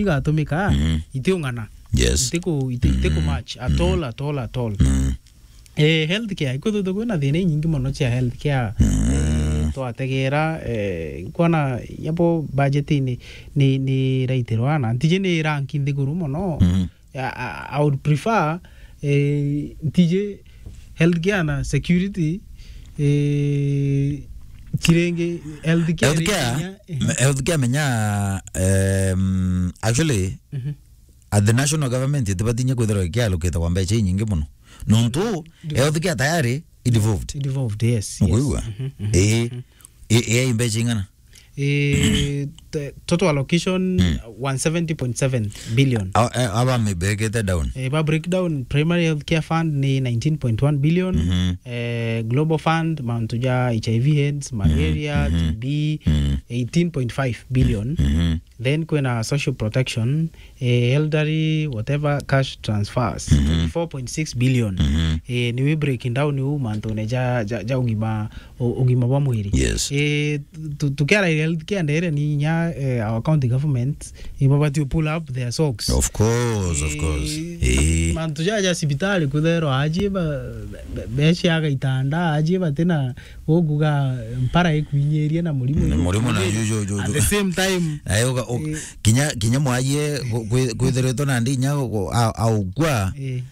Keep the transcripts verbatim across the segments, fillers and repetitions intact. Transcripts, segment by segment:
igatumika, Mhm. itiung'ana. Yes. Itiku-, iti-, itiku Mhm. match at Mhm. all, at all, at all. Mhm. Eh, healthcare, ikwithirwa kwina thina inyingi mono cia healthcare. Mhm. Eh, twategera, eh, nkwona nyabo budget ni, ni, ni raitirwa na ntiji ni rank nthiguru mono. Mhm. I, I, I would prefer, eh, ntiji healthcare na security, eh, chiringi healthcare Healthcare, rikinya, eh. me-, healthcare menya, em, actually, Mhm. at the national government, itibatinya kwithirwa ikiallocate kwa mbeca inyingi mono. Nontu, Ndio. healthcare tayari i devolved. I devolved, yes, yes. Nukwigua? Mhm, mhm, Ii. mhm. I, i, i mbeca ing'ana? Eh, t-, total allocation, Mm. one seventy point seven billion. A-, a-, aba mibekete down. Eh, ba breakdown, primary healthcare fund ni nineteen point one billion. Mhm. Eh, global fund, mantu ja H I V AIDS, malaria, Mhm. T B, Mm. eighteen point five billion. Mhm. Then kwina social protection, eh, elderly, whatever, cash transfers, Mhm. twenty-four point six billion. Mhm. Eh, ni we breaking down u mantune ja, ja, ja ugima, u-, ugima bwa mwiri. Yes. Eh, tu-, tukiara healthcare ndere ni inya, eh, our county government, ibabati pull up their socks. Of course, of course. Eh, Eh. mantu ja, ja cibitari kutherwa aji ba, be-, beciaga itanda, aji batina Uguga mpara ikwinyiria na murimo Ni murimu na ikwinyiria. Ju-, ju-, ju-, At ju-, the same time, na yuga u-, eh, kinya, kinya mwajie gu-, kwi-, kwithiritwe na ndinya gu-, a-, aukua, eh,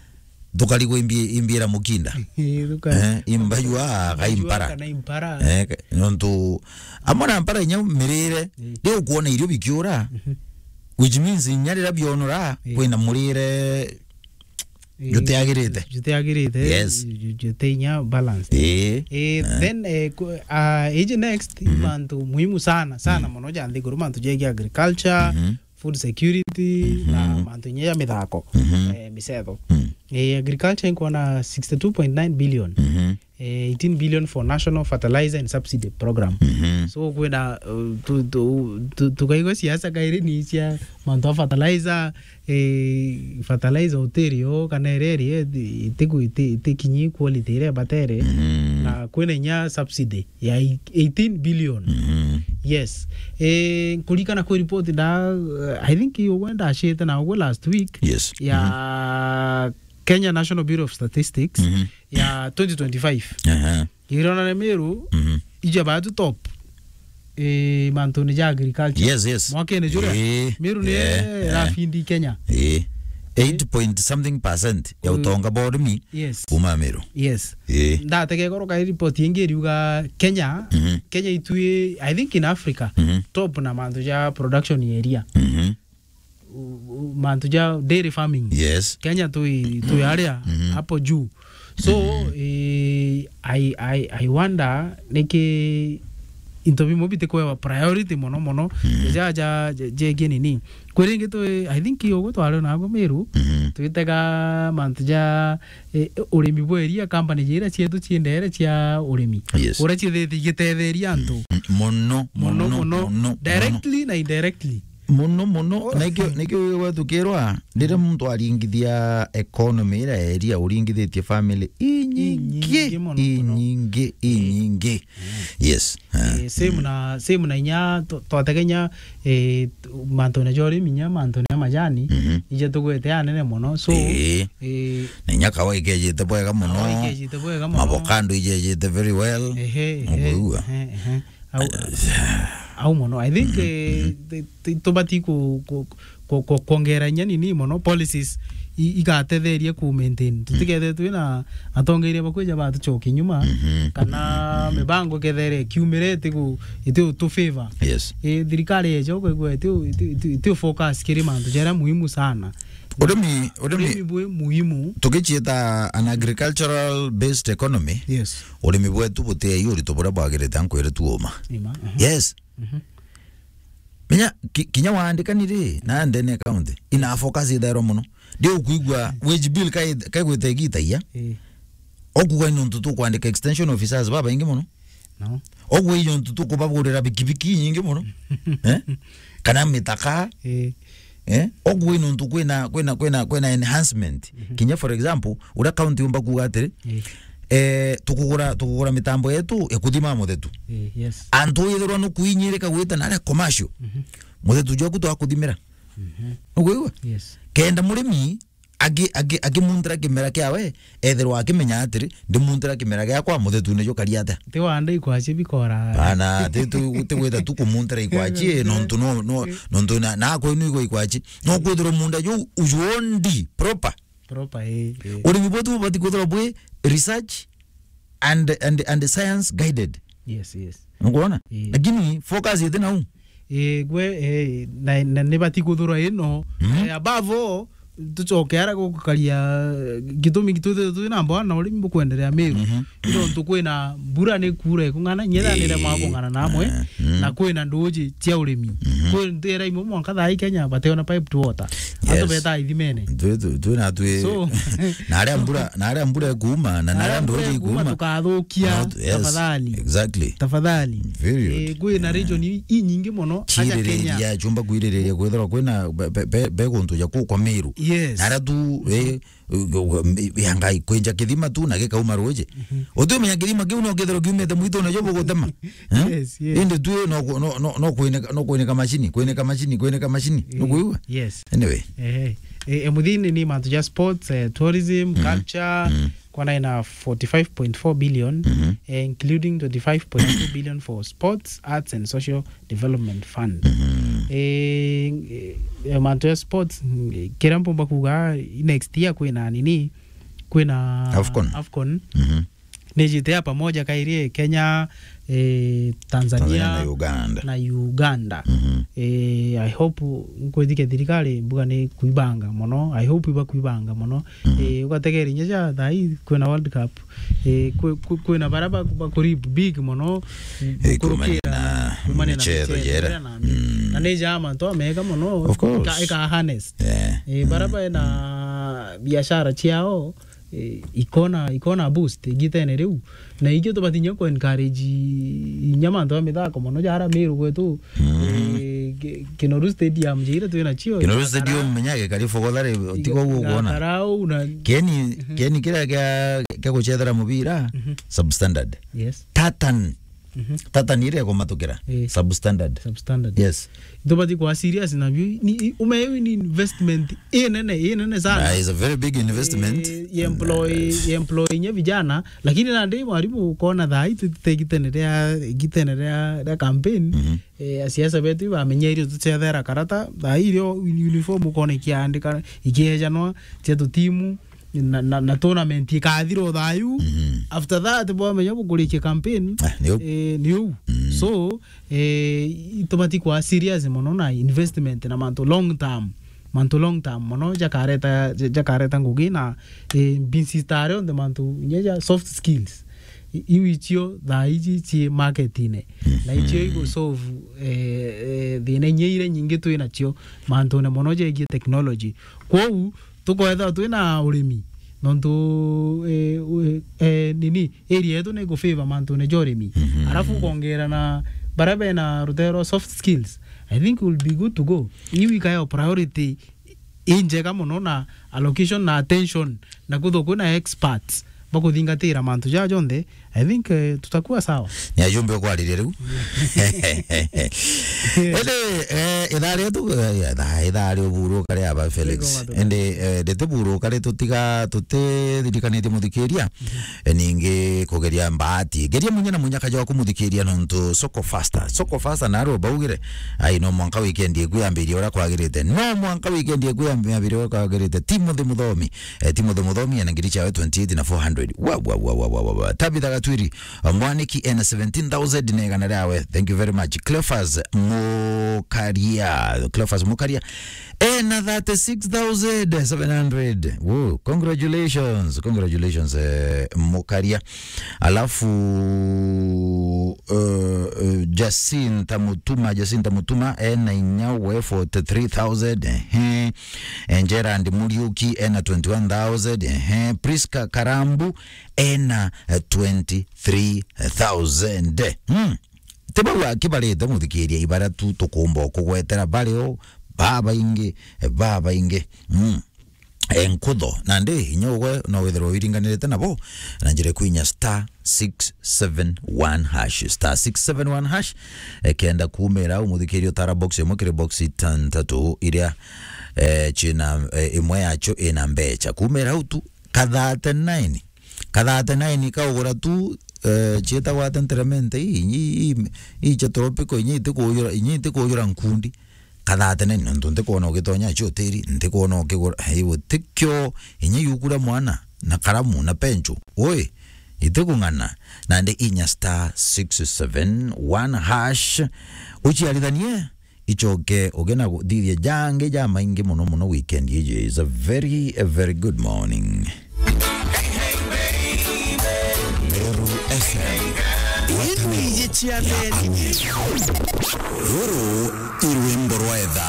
thukarigwa imbi-, imbiira mukinda. Eh, thuka-, eh, imbayu a, thuka-, kaimpara. Kana impara. Eh, ka-, nontu amwe na mpara inya mirire, eh, riu ukwona irio bikiura, mhm, which means inya riria bionora, eh, kwina murire Eh, jutiagirite. Jutiagirite, yes, ju-, ju-, jute inya balance. Eh. Eh, eh, then, eh, ku-, ah, iji next, mhm, mantu muhimu sana, sana, mm, mono ja nthiguru, mantu jegie agriculture, mhm, food security, mhm, na mantu inya ja mithako, mhm, eh, micetho. Mm. Eh, agriculture inkwona sixty-two point nine billion. Mhm. Eh, eighteen billion for National Fertilizer and Subsidy Program. Mhm. So, kwina, uh, tu-, tu-, tu-, tukaigua siasa kairi ni cia mantu a fertilizer, eh, fertilizer utiri o, kana iria iri, eh, itiku-, iti-, itikinyi quality iria ibatere, mhm, na kwina inya subsidy ya i-, eighteen billion. Mhm. Yes. Eh, nkurikana kwi report nda, uh, I think ugwe ndacite na ugwe last week. Yes. Ya, mhm, Kenya National Bureau of Statistics, mhm, ya twenty twenty-five. Aha. Irona ni Meru, mhm, ija batu top, eh, mantuni ja agriculture. Yes, yes. Mwakene juria, eh, Meru ni, eh, eh, irafindi Kenya. Eh. Eight point something percent ya, mm, utonga bwa urimi, yes, kuma Meru. Yes. Eh. Ndatege goro kai report ingi iriuga Kenya, mhm, Kenya itui, I think in Africa, mhm, top na mantu ja production area. Mhm. U-, u-, mantu ja dairy farming. Yes. Kenya tui, tui aria, mhm, hapo juu. So, mhm, eh, I, I, I wonder niki into bimwe bitikwewa priority mono mono. Mhm. Ja, ja, ja, jegie nini. Kwi ringi tui, I think ugu twari nago Meru, mhm, twitega mantu ja, eh, urimi bwa iria, company jira cietu ciendere cia urimi. Yes. Uria ciethitie igitetheria antu. Mm, mono, mono, mono, mono, mono. Directly na indirectly. Mono, mono. Oh. Nikio, nikio wigagwa tukirwa, riria muntu aringithia economy iria ya area, uringithitie family inyingi, inyingi mono, mono, inyingi, inyingi. Mm. Yes. Eh, same, mm, na, same na inya tw-, twategenya, eh, t-, mantune ja urimi, inya mantune ja majani, mhm, ije tugwete anene mono. So, eh, eh, na inya kawa ikejite bwega mono. Kawa ikejite bwega mono. Mavocado ijejite very well. Ehe, ehe, uguigua? Ehe, ehe. Au, au mono. I think, mhm, eh, mhm, ti-, ti-, tubati ku-, ku-, ku-, ku-, kwongera inya nini mono policies i-, igatetheria ku maintain. Mhm. Tutikethe twina atongeria bakwija batucoki nyuma, mhm, kana, mhm, mibango ikethere ikiumire itigu-, iti tu favor. Yes. Eh, thirikari yeja ukaigua iti, iti, iti, iti focus kiri mantu jaria muhimu sana. Urimi, urimi, urimi bwi muhimu. Tugichieta an agricultural based economy, yes, urimi bwetu buti ai urito buria bwagirite, ankwire tu uma. Ima, mhm. Yes. Mhm. Menya, ki-, kinya waandikani ri, na ndene county, ina focus ithairwa mono. Ndi ukwigua wage bill kai-, kaigwite igita iya. Eh. Okuga ni untu tukwandika extension officers babaingi mono. No. Okuga ni untu tukubagurira bikibiki nyingi mono. Eh? Kana mitaka. Eh. Eh? Okuga ni untu kwina, kwina, kwina, kwina enhancement. Mhm. Kinya for example, uria county umba kuuga atiri, eh, eh, tukugura, tukugura mitambo yetu ya kuthima muthetu. Eh, yes. Antu withirwa nukuinyirika gwita na aria commercial. Mhm. Muthetu jwaku twakuthimira. Mhm. Nukwigua? Yes. Kenda murimi aki-, aki-, akimuntira kimera kiawe, ethirwa akimenya atiri, ndimuntira kimera giakwa, muthetune jukari atia? Ti wanda ikwaci bikora. Bana, ti tu, ti gwita tu kumuntira ikwaci, nontu no, no, nontu na, na kwenu igwa ikwaci. No kwithirwa munda juu ujuondi proper. Proper, eh, eh. Urimi bwetu bubati kwithirwa bwi research and, and, and science guided. Yes, yes. Nukwona? Eh. Lakini focus iti nau. Eh, gwe, eh, na, na nibati kuthurwa ino. Mhm. Eh, above all, tucoke ara gukaria, eh, gitumi gitwithirwe twi na mbwana urimi bukwenderea Meru. Mhm. Nontu kwina mbura ni kuura ikung'ana, nyetha nire mwa kung'ana namwe, eh, mm, na kwina nduji cia urimi. Mhm. Kwi ntira imwe mwanka thaa ii Kenya, bateona piped water. Yes. Antu beta ithimene. Twi, twi, twi na twi. So, na aria mbura, na aria mbura ikuuma, na, na aria nduji ikuuma, tukathukia. Not, yes, tafadhali. Exactly. Tafadhali. Period. Eh, kwina region i, i nyingi mono, aja Kenya. Chumba kwiririria kwithirwa kwina be, be, be, be guntu ja ku kwa Meru. Yes. Na aria tu, eh, ya Ngai, kwinja kithima tu na gikauma ruji. Mhm. Utumenya kithima kiu no kithirwa kiumite mwitune jo bugutema. Eh? Yes, yes. Indi tu no ku-, no, no, no kuineka, no kuineka machini, kuineka machini, kuineka machini. Eh, nukwigua? Yes. Anyway. Eh, eh, eh, muthini ni mantu ja sports, eh, tourism, mhm, culture, mhm, kwana ina forty-five point four billion, mhm, eh, including twenty-five point two billion for sports, arts and social Development Fund. Mhm. Eh, eh, mantu ya sports, mm, kiria mpumba kuuga, next year kwina nini, kwina AFCON. AFCON. Mhm. Nijite ya pamoja kairi Kenya, eh, Tanzania, Tanzania na Uganda. Na Uganda. Mhm. Eh, I hope nkwithike thirikari mbuga ni kuibanga mono. I hope iba kuibanga mono. Mhm. Eh, ugategera inya ja thaa ii kwina World Cup. Eh, kwi-, kwi-, kwina bara ba-, bakurip big mono, eh, gukurukira kumania na, kumania na michezo michezo jera. Jera na, mm, na ni ja mantu amega mono. Of course. Ika, ika harness. Yeah. Eh, bara, mm, baina, mm, biashara ciao, eh, ikona, ikona boost igitene riu. Na ikio tubati inya ku encourage inya mantu a mithako mono jara Meru gwetu. Mm. Eh, Ki-, Kinoru Stadium, jira twina cio, Kinoru Stadium, menya gikari fogothari, tigo guo kuona. Gakarau na Keni, mhm, Keni kiria kia, kia gucethera mubira, mhm, substandard. Yes. Tartan. Mhm. Tartan iria ikumatukira, eh, substandard. Substandard. Yes. Tubati kwa serious na biu. Ni, ume, ni investment inene, inene sana. Ah, it's a very big investment. Eh, ye employ, yes, ye employ nye vijana, lakini nandi mwarimu ukona thaa ii tutegitene ria, gitene ria, ria campaign. Mhm. Eh, asiasa betu ibamenyeire tucethera karata, thaa irio uniform ukona ikiandika, ikiejanwa, cia tutimu, na, na, na tournament ikathira o thayu. Mhm. After that, bwamenya bukurikia campaign, ah, ni u. Eh, ni u. Mm. So, eh, itubati kwa serious mono na investment na mantu long term. Mantu long term mono jakareta, ja-, jakareta ngugi na, eh, mbinsi tare onthe mantu inya ja soft skills. I-, iu icio thaa iji ci marketine. Na icio, mhm, igu solve, eh, eh, thina inya iria nyingi twi nacio mantune mono jegie technology. Kwou, tukwethirwa twi na urimi, nontu, eh, u-, eh, nini, area yetu ni gu favor mantune ja urimi. Mhm. Arafu ukongera na baria bena rutere rwa soft skills, I think we'll be good to go. Iu ikayo priority injega mono na allocation na attention, na kwithirwa kwina experts bakuthingatira mantu jaa jonthe, I think, eh, tutakuwa sawa. Ni ajumbe ukwariria riu. Indi, eh, ithaa rietu, eh, ithaa, ithaa ria uburu kare aba Felix. Indi, eh, ritiburuka ri tutiga, tutithirikanitie muthikiria. Mhm. Eh, ningi kugeria mbaati. Geria munya na munya kaja waku muthikiria nontu Soko Faster. Soko Faster naro baugire, ai, no mwanka weekend iku yambirie uria kwagirite. No mwanka weekend iku yambirie uria kwagirite. Timothy Muthomi. Eh, Timothy Muthomi ena ngiri ciawe twenty-eight na four hundred. Wa, wa, wa. Tabitha Gatwiri, eh, Mwaniki ena seventeen thousand na igana riawe. Thank you very much. Cleophas Mukaria. Cleophas Mukaria ena thirty-six thousand seven hundred. Woo, congratulations. Congratulations, eh, Mukaria. Alafu, eh, eh, Jacinta Mutuma, Jacinta Mutuma ena inya we forty-three thousand. Ehe. Eh, Gerard Muriuki ena twenty-one thousand, ehe. Prisca Karambu ena, eh, twenty-three thousand. Hmm. Ti bau akibarite muthikiria, ibara tu tukumba kugwetera bario babaingi, babaingi. Hmm. eh, nkutho. Nandi inya ugwe no withirwe wiringanirite nabo na njira kwinya star six seven one hash, star six seven one hash. Eh, kenda kumira au, muthikiria utara box imwe kiri box itantatu iria, eh, cina, eh, imwe yacio ina mbecha. Kumira au tu, ka thirty-nine, ka thirty-nine kaugura tu, eh, cietagwa ate nteremente ii, ii, ii, ii cia tropical, inya itikujura, inya itikujura nkundi. Ka thirty-nine, nontu ntikwona ugitonya acio tiri, ntikwona ukigura, hei, gutikio, inya iuku ria mwana, na karamu, na penchu, ui, itikung'ana, nandi inya star six seven one hash, uciarithanie, icoke uge na guthithia jangi jamaingi muno muno weekend iji. Is a very, a very good morning. Meru F M. Inu iji cia theri. Ruru i rwimbo rwa etha.